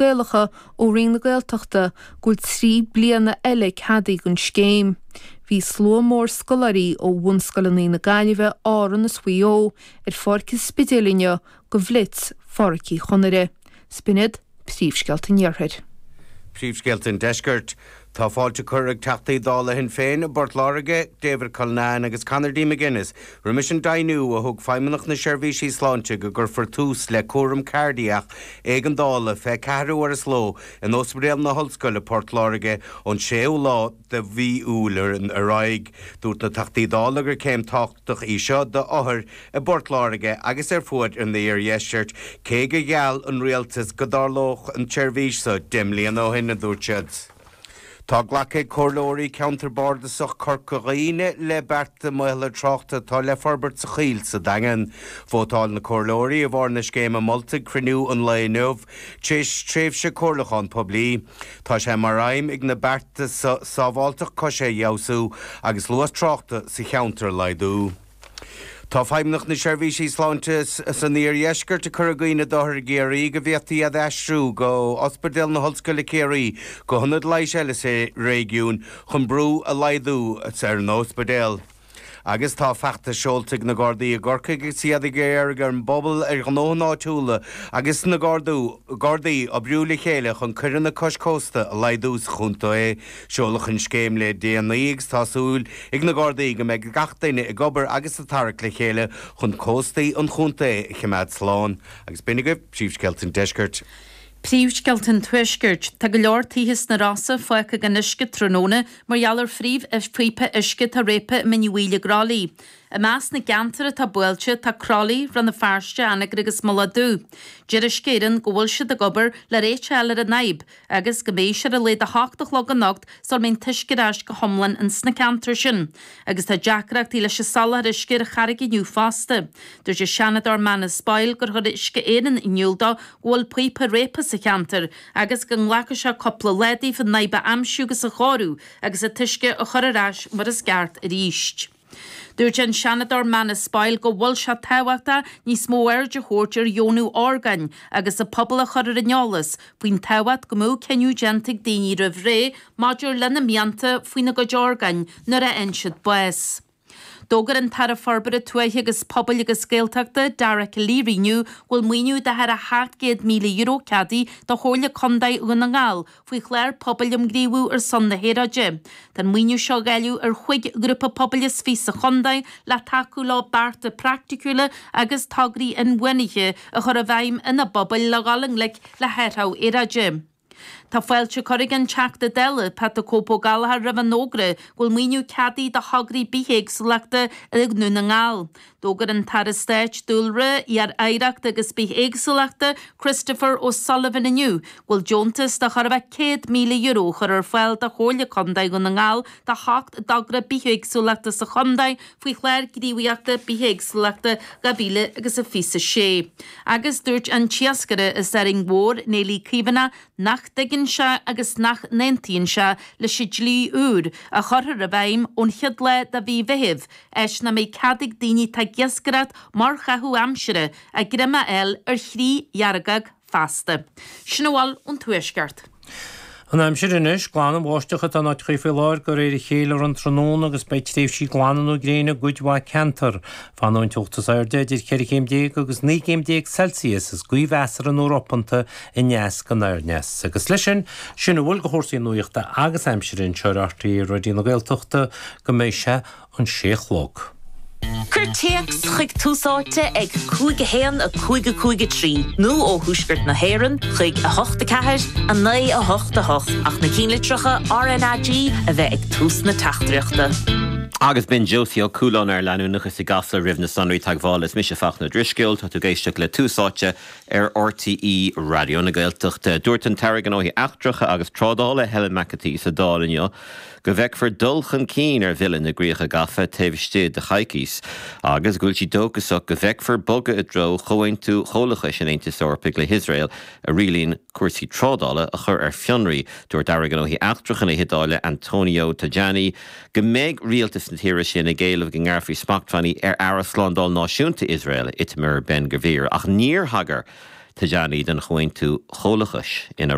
Gaelacha ó Roinn na Gaeltachta go bhfuil 3 bliana eile ceadaithe don scéim. Bhí slua mór scoláirí ó bhunscoileanna na Gaillimhe, Árann is Mhaigh Eo ar Pháirc an Spidéil inniu do Bhlitz Phádraic Uí Chonaire. 'S b'in iad príomhscéalta an Iarthair. Príomhscéalta an Deiscirt. Tá fáilte curtha ag Teachtaí Dála Shinn Féin i bPort Láirge, David Cullinane agus Conor D McGuinness, roimis an deimhniú a thug Feidhmeannacht na Seirbhísí Sláinte go gcuirfear tús le cúram cairdiach éigeandála 24 uair sa ló in Ospidéal na hOllscoile, Port Láirge, ón 6ú lá de mhí Iúil ar aghaidh. Dúirt na Teachtaí Dála gur céim tábhachtach í seo d'othair i bPort Láirge agus ar fuaid an iardheiscirt, cé gur gheall an rialtas go dtarlódh an tseirbhís so 10 mbliana ó shin, a dúirt siad. Tá glactha ag Comhairleoirí Ceantar Bardasach Corca Dhuibhne le bearta maolaithe tráchta atá le forbairt sa Choill sa Daingean. Vótáil na Comhairleoirí i bhfabhar na scéime molta ag cruinniú an lae inniu, tar éis tréimhse comhairliúchán poiblí. Tá sé mar aidhm ag na bearta so sábháilteacht coise a fheabhsú agus luas tráchta sa cheantar a laghdú. Tá Feidhmeannacht na Seirbhísí Sláinte san Iardheisceart ag cur i gcuimhne d'othair i gCiarraí go bhféadfaí iad a aistriú go Ospidéal na hOllscoile Ciarraí go hionad leighis eile sa réigiún chun brú a laghdú ar an ospidéal. Agus tá feachtas seolta ag na Gardaí i gCorcaigh agus iad ag iarraidh ar an bpobal, ar ghnóthaí áitiúla agus na Gardaí oibriú le chéile chun coireanna cois cósta a laghdú sa chontae. Seoladh an scéim le déanaí agus tá súil ag na Gardaí go mbeidh gach duine ag obair agus ag tarrac le chéile chun cóstaí an chontae a choimeád slán. Agus b'in agaibh príomhscéalta an deiscirt. Príomhscéalta an Tuaiscirt. Tá go leor tithe sna Rosa fágtha gan uisce tráthnóna mar gheall ar phíopa uisce atá réabtha i mBinn Uí Bhaoill i gCroithlí. I measc na gceantar atá buailte tá Croithlí, Rann na Feirste, Anagaire agus Mullach Dubh. Deir Uisce Éireann go bhfuil siad ag obair le réiteach a fháil ar an fhadhb agus go mbeidh sé ar a laghad 8 a chlog anocht sula mbeidh an t-uisce ar ais go hiomlán ins na ceantair sin. Agus tá deacrachtaí leis an soláthar uisce ar an Charraig inniu fosta. Dúirt an Seanadóir Manus Boyle gur chuir Uisce Éireann in iúl dó go bhfuil píopa réabtha sa cheantar agus go nglacfaidh sé cúpla lá daofa an fhadhb a aimsiú agus a chóiriú agus an t-uisce a chur ar ais mar is ceart arís. Dúirt an Seanadóir Manus Boyle go bhfuil sé tábhachtach níos mó aird a thabhairt ar dheonú orgáin agus an pobal a chur ar an eolas faoin tábhacht go mbeadh cinneadh déanta ag daoine roimh ré maidir lena mianta faoina gcuid orgáin nuair a fhaigheann siad bás. D'fhógair an tAire Forbartha Tuaithe agus Pobail agus Gaeltachta, Dara Calleary inniu go bhfuil maoiniú de thar €700,000 ceadaithe do Chomhairle Contae Dhún na nGall faoi chlár pobail um ghníomhú ar son na haeráide. Tá an maoiniú seo á dháileadh ar chúig ghrúpa pobail is fiche sa chontae le tacú leo bearta praiticiúla agus tograí inbhuanaithe a chur i bhfeidhm ina bpobail le dhul i ngleic le hathrú aeráide. Tá fáilte curtha ag an Teachta Dála, Pat the Cope Ó Gallchóir roimh an fhógra go bhfuil maoiniú ceadaithe do thograí bithéagsúlachta i nDún na nGall. D'fhógair an tAire Stáit Dúlra, Oidhreachta agus Bithéagsúlachta, Christopher O'Sullivan inniu go bhfuil deontas de chóir a bheith €100,000 curtha ar fáil do Chomhairle Contae Dhún na nGall do sheacht dtogra bithéagsúlachta sa chontae faoi Chlár Gníomhaíochta Bithéagsúlachta 2026. Agus dúirt an t-iascaire as Árainn Mhór, Néillí Caomhánach, nach dtuigeann sé agus nach n-aontaíonn sé leis an dlí úr a chuirfear i bhfeidhm ón chéad lá de mhí Mheithimh áit nach mbeidh cead ag daoine atá ag iascaireacht mar chaitheamh aimsire a ngreim a fháil ar chriú dheargóg feasta. Sin a bhfuil ón Tuaisceart. An aimsir anois, Glan an bháisteach atá in áiteachaí faoi láthair de réir a chéile ar an tráthnóna agus beidh tréimhsí glana nó gréine i gcuid mhaith ceantar. Fanfaidh an teocht is airde idir 14 chéim agus 19 gcéim Celsius is gaoth mheasartha nó ropanta aneas go oirneas. Agus leis sin, sin a bhfuil de chúrsaí nuachta agus aimsire anseo ar RTÉ Raidió na Gaeltachta go mbeidh sé an sé a chlog. Cuir téacs chuig Tús Áite ag 5 1 5 5 3 nó ó thuaisceart na hÉireann chuig 8 4 9 8 8 ach na cinnlitreacha RnaG a bheith ag tús na teachtaireachta. Agus b'in Josie Ó Cualáin ar leanúnachas i gCasla roimh na sonraí teagmhála. Is mise Fachtna Ó Drisceoil, tá tú ag éisteacht le Tús Áite ar RTÉ Raidió na Gaeltachta. Dúirt an tAire Gnóthaí Eachtracha agus Trádála Helen McEntee sa Dáil inniu go bhfeicfear dul chun cinn ar Bhille na gCríocha Gafa taobh istigh de choicís agus go bhfuil sí dóchasach go bhfeicfear bogadh i dtreo Chomhaontú Comhlachais an Aontais Eorpaigh le hIosrael a rialaíonn cúrsaí trádála a chur ar fionraí. Dúirt Aire Gnóthaí Eachtracha na hIodáile Antonio Tajani go mbeidh rialtas na tíre sin ag éileamh go ngearrfaí smachtbhannaí ar Aire Slándáil Náisiúnta Iosrael, Itamar Ben Gvir, ach níor thagair. Tajani den Chomhaontú Chomhlachais ina.